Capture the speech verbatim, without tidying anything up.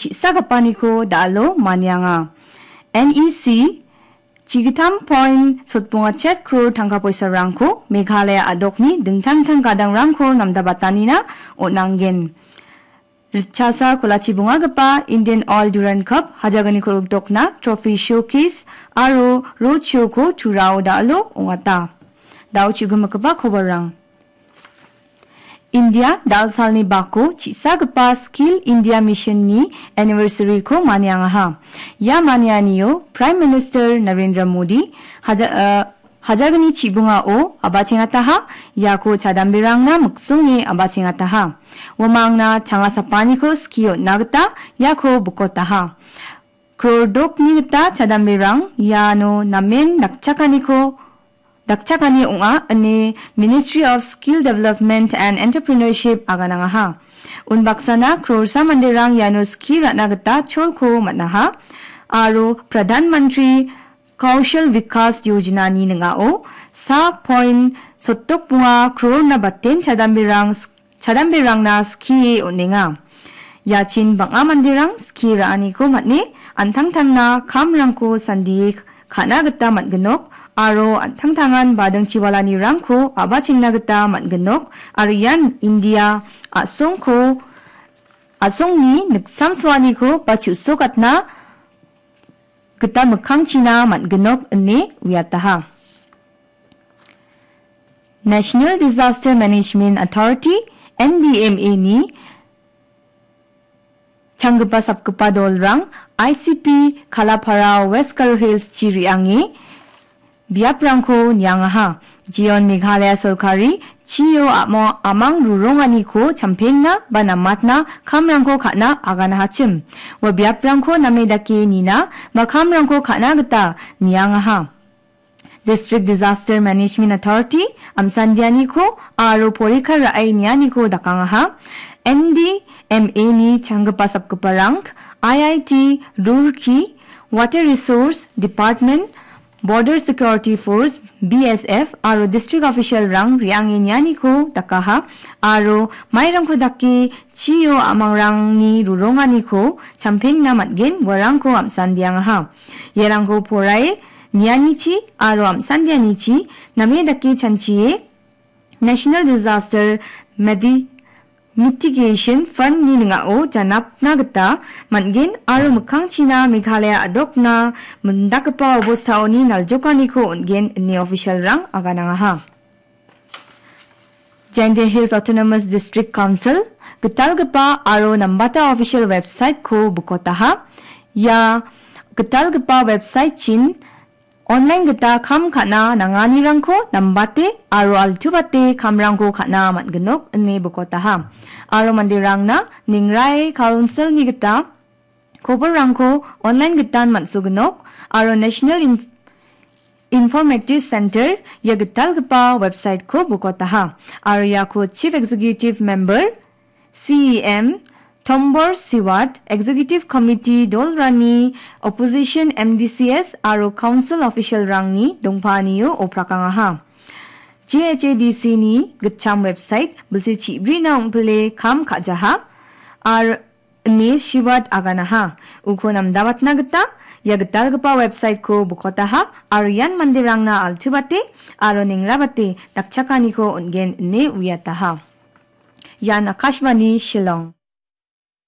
chi·sagipaniko da·alo manianga. N E C chigittam point sotbonga chet kror tangka poisarangko Meghalaya a·dokni dingtang dingtang gadangrangko namdabatanina on·angen. Ritchasa kolachi bongagipa Indian Oil Durand Cup hajalgni ku·rikdokna trophy showcase aro road show-ko Turao da·alo ong·ata. Da·o chu·gimikgipa koborrang. India dal salni bako chi·sagipa Skill India Mission-ni anniversary-ko maniangaha. Ia manianio Prime Minister Narendra Modi haja-, eh, hajalgni chibongao a·bachengataha, iako chadamberangna miksonge a·bachengataha. Uamangna changa sapaniko skie on·na gita iako bikotaha. Krordokni gita chadamberang iano namen dakchakaniko, dakchakani ong·a ine Ministry of Skill Development and Entrepreneurship aganangaha. Unbaksana krorsa manderang iano skie ra·na gita cholko man·aha. Aro Pradhan Mantri Kaushal Vikas Yojana-ni ning·ao sa point sotdok bonga krorna baten chadamberang, chadamberangna skie on·enga. Iachin bang·a manderang skie ra·aniko man·e an·tangtangna kamrangko sandie ka·na gita man·ginok aro an·tangtangan bading chiwalanirangko a·bachengna gita man·ginok aro ian India a·songko, a·songni niksamsoaniko ba chu·sokatna gita mikkangchina man·ginok ine uiataha. National Disaster Management Authority, N D M A-ni changgipa sapgipa dolrang I C P Kalapara West Garo Hills-chi re·ange biaprangko niangaha. Jeon Meghalaya sorkari chio amo-, amang ruronganiko champengna ba namatna kamrangko ka·na aganahachim. Ua biaprangko name dake nina ba kamrangko ka·na gita niangaha. District Disaster Management Authority, amsandianiko aro porikar ra·e nianiko dakangaha. N D M A-ni changgipa sapgiparang, I I T Roorkee, Water Resource Department, Border Security Force, B S F, aro district official-rang re·ange nianiko dakaha, aro mairangko dake chio amangrangni ruronganiko champengna man·gen, uarangko amsandiangaha. Iarangko porae nianichi aro amsandianichi name dake chanchie National Disaster Medi-, Mitigation Fund-ni ning·ao janapna gita man·gen aro mikkangchina Meghalaya a·dokna mindakgipa obostaoni naljokaniko on·gen ine official-rang aganangaha. Jaintia Hills Autonomous District Council gitalgipa aro nambata official website-ko bikotaha. Ia gitalgipa website-chin online gita kam ka·na nanganirangko nambate aro altuate kamrangko ka·na man·ginok ine bikotaha. Aro manderangna Ningrai Council-ni gita koborrangko online gitan man·soginok aro National In-, Informative Center ia gitalgipa website-ko bikotaha. Aro iako Chief Executive Member, C E M, Tombor Siwat, Executive Committee dolrani, Opposition M D C S aro Council Official-rangni dongpaanio oprakangaha. J H A D C-ni gitcham website bilsi chibrina ong·pile kam ka·jaha. Ar- ine Siwat aganaha. Uko namdabatna gita ia gitalgipa website-ko bikotaha aro ian manderangna altuate aro nengrabate dakchakaniko on·gen ine uiataha. Ian Akashvani Shillong.